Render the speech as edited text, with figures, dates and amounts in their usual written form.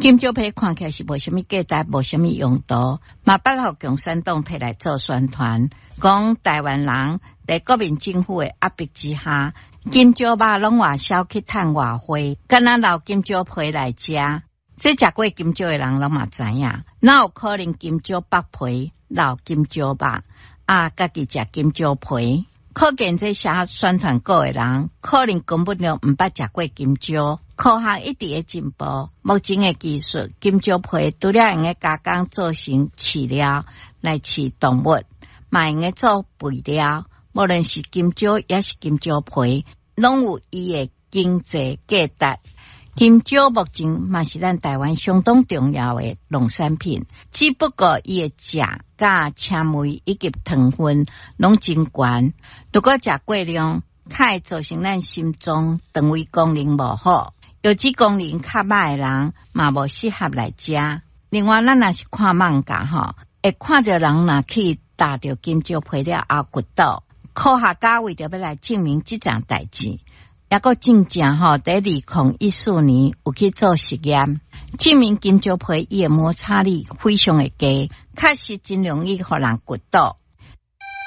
金蕉皮看起來是無啥物價值，無啥物用途，嘛捌予共產黨提來做宣傳，講臺灣人佇國民政府的壓迫之下，金蕉肉攏外銷去趁外匯，敢若留金蕉皮來食。這食過金蕉的人攏嘛知影，哪有可能金蕉剝皮留金蕉肉啊？家己食金蕉皮？可見這寫宣傳稿的人，可能根本就毋捌食過金蕉。科學一直咧進步，目前的技術，金蕉皮除了會用得加工做成飼料來飼動物，嘛會用得做肥料。無論是金蕉抑是金蕉皮，攏有伊的經濟價值。金蕉目前嘛是咱臺灣相當重要的農產品，只不過伊的食佮纖維以及糖分攏真懸。如果食過量，較會造成咱心臟腸胃功能無好，腰子功能較歹的人嘛無適合來食。另外，咱若是看艋舺吼，會看著人若去踏著金蕉皮了後轆倒，科學家為著欲來證明這樁代誌，抑閣真正吼，佇2014年有去做實驗，證明金蕉皮伊的摩擦力非常的低，確實真容易予人轆倒。